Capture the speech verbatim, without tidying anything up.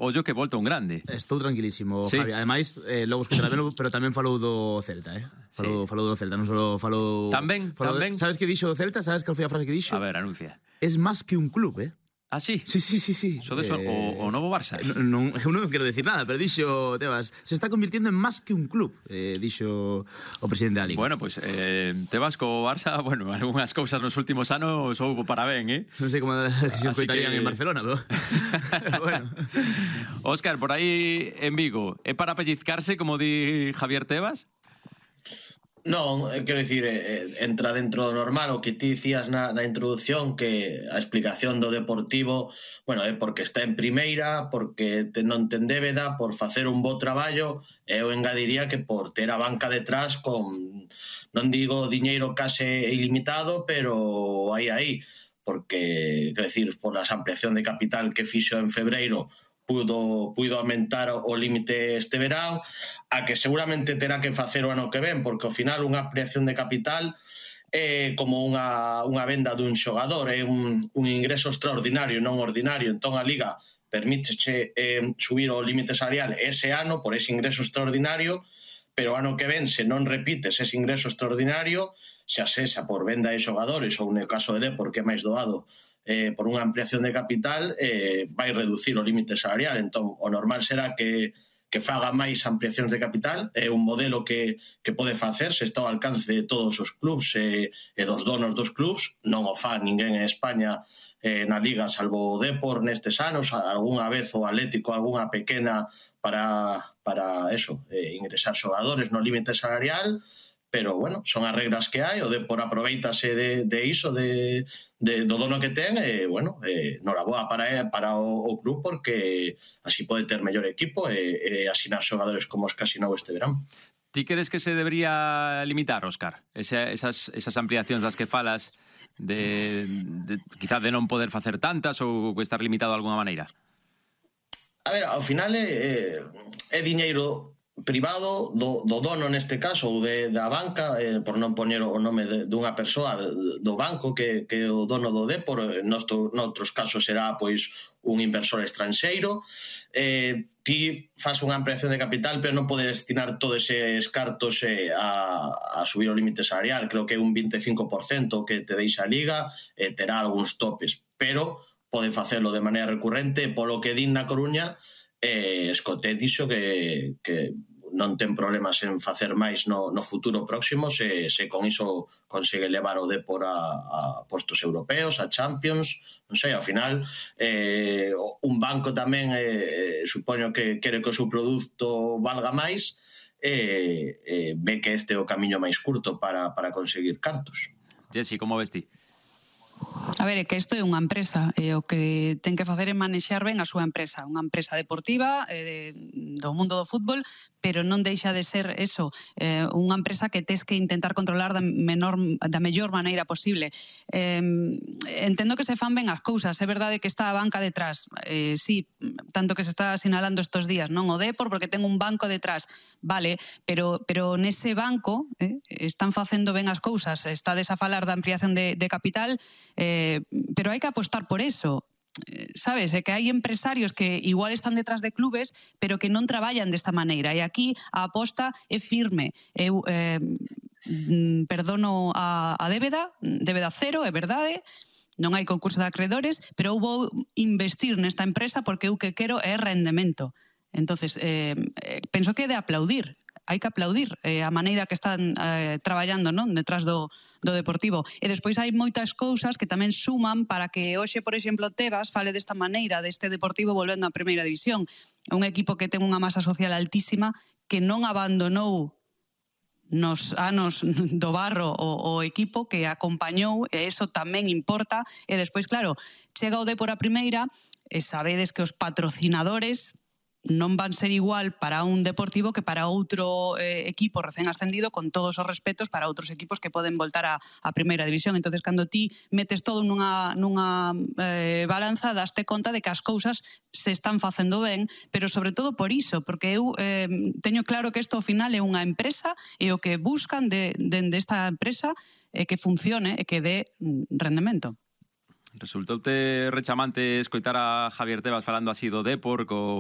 ollo que volta un grande. Estou tranquilísimo, sí. Javi. Ademais, eh, logo escutará velo, pero tamén falou do Celta, eh? Falou, sí. falou do Celta, non só falou... Tamén, falou tamén. De... Sabes que dixo do Celta? Sabes cal foi a frase que dixo? A ver, anuncia. Es máis que un club, eh? Ah, sí? Sí, sí, sí, sí. Eso de eso, eh, o, o novo Barça. Non, non, non quero decir nada, pero dixo, Tebas, se está convirtiendo en máis que un club, eh, dixo o presidente da Liga. Bueno, pues eh, Tebas co Barça, bueno, algunhas cousas nos últimos anos houbo para ben, eh? Non sei como se os coitarían que... en Barcelona, pero... bueno. Óscar, por aí en Vigo, é para pellizcarse, como di Javier Tebas? Non, quero dicir, eh, entra dentro do normal o que ti dicías na, na introducción, que a explicación do Deportivo, bueno, é porque está en primeira, porque te, non ten débeda, por facer un bo traballo, e eu engadiría que por ter a banca detrás con, non digo diñeiro case ilimitado, pero aí aí, porque, quero dicir, por a ampliación de capital que fixo en febreiro, pudo, pudo aumentar o límite este verán, a que seguramente terá que facer o ano que ven, porque ao final unha ampliación de capital é como unha, unha venda dun xogador, é un, un ingreso extraordinario, non ordinario. Entón a Liga permíteche eh, subir o límite salarial ese ano por ese ingreso extraordinario, pero o ano que ven, se non repites ese ingreso extraordinario, xa sexa por venda de xogadores ou no caso de Depor, que é máis doado, Eh, por unha ampliación de capital, eh, vai reducir o límite salarial. Entón, o normal será que, que faga máis ampliacións de capital. É un modelo que, que pode facerse, está ao alcance de todos os clubs e, e dos donos dos clubs. Non o fa ninguén en España eh, na Liga, salvo o Depor nestes anos, algunha vez o Atlético, algunha pequena para, para eso, eh, ingresar xogadores no límite salarial. Pero, bueno, son as reglas que hai, o Depor aproveitase de, de iso, de, de, do dono que ten, e, bueno, eh, noraboa para, para o, o club, porque así pode ter mellor equipo e, e asinar xogadores como os que asinou este verán. Ti crees que se debería limitar, Óscar, Ese, esas, esas ampliacións das que falas, de, de quizás de non poder facer tantas ou estar limitado de alguna maneira? A ver, ao final é, é diñeiro privado do, do dono neste caso, ou de, da banca, eh, por non poñer o nome de, dunha persoa do banco que, que o dono do Depor. Nosto, noutros casos será pois un inversor estranxeiro. Eh, ti faz unha ampliación de capital, pero non pode destinar todos eses cartos eh, a, a subir o límite salarial. Creo que é un veinticinco por ciento que te deixa a Liga, eh, terá algúns topes, pero pode facelo de maneira recurrente. Polo que din na Coruña, eh, Escotet dixo que, que non ten problemas en facer máis no, no futuro próximo, se, se con iso consigue levar o Depor a, a postos europeos, a Champions. Non sei, ao final eh, un banco tamén eh, supoño que quere que o seu produto valga máis, e eh, eh, ve que este é o camiño máis curto para, para conseguir cartos. Jessy, como ves ti? A ver, é que isto é unha empresa, e o que ten que facer é manexar ben a súa empresa, unha empresa deportiva eh, do mundo do fútbol, pero non deixa de ser eso, eh, unha empresa que tes que intentar controlar da, menor, da mellor maneira posible. Eh, entendo que se fan ben as cousas, é verdade que está a banca detrás, eh, sí, tanto que se está sinalando estos días, non o Depor porque ten un banco detrás, vale, pero, pero nese banco eh, están facendo ben as cousas, estades a falar da ampliación de, de capital, eh, pero hai que apostar por eso. Sabes, é que hai empresarios que igual están detrás de clubes, pero que non traballan desta maneira, e aquí a aposta é firme. Eu eh, perdono a, a débeda, débeda cero, é verdade, non hai concurso de acreedores, pero eu vou investir nesta empresa porque eu que quero é rendemento. Entonces, eh, penso que é de aplaudir. Hai que aplaudir eh, a maneira que están eh, traballando, non, detrás do, do Deportivo. E despois hai moitas cousas que tamén suman para que hoxe, por exemplo, Tebas fale desta maneira deste Deportivo volvendo á primeira división. É un equipo que ten unha masa social altísima, que non abandonou nos anos do barro o, o equipo, que acompañou, e iso tamén importa. E despois, claro, chega o Depor a primeira, e sabedes que os patrocinadores non van ser igual para un Deportivo que para outro eh, equipo recén ascendido, con todos os respetos para outros equipos que poden voltar a, a primeira división. Entonces, cando ti metes todo nunha, nunha eh, balanza, daste conta de que as cousas se están facendo ben, pero sobre todo por iso, porque eu eh, teño claro que isto ao final é unha empresa, e o que buscan de, de, de esta empresa é que funcione e que dé rendemento. Resultoute rechamante escoitar a Javier Tebas falando así do Depor, co